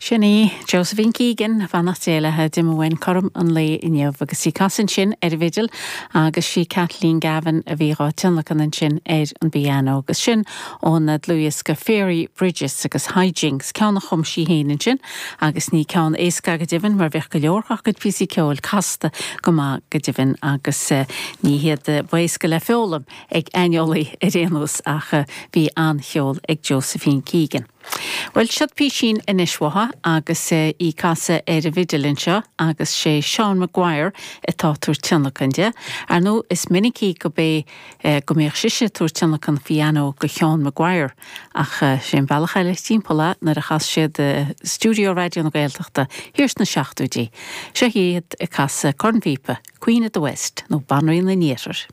Sin í Josephine Keegan, beannacht Dé léi, d'imigh uainn cothrom an lae inniu agus í ag casadh ansin ar an bhfidil agus sí Kathleen Gavin a bhí dhá tionlacan ansin ar an bpianó agus sin ón dlúthdhiosca Fairy Bridges agus High Jinks, ceann a chum sí féin ansin agus ní ceann éasca go deimhin mar bheadh go leor dá cuid píosaí ceoil casta go maith go deimhin agus ní hiad ba éasca le foghlaim ag aineolaí ar aon nós ach bhí an-cheol ag Josephine Keegan. Bhuel, siod písín anois uaithi agus í ag casadh ar an bhfidil anseo agus sé Seán Maguire atá ag tabhairt tionlacan di. Ar ndóigh, is minicí go bé go mbíodh sise ag tabhairt tionlacan phianó go Sheán Maguire ach sé an bealach eile timpeall é nuair a chas siad i stiúideo Raidió na Gaeltachta thiar sna seachtóidí. Seo iad ag casadh cornphíopa, Queen of the West nó Banríon an Iarthair.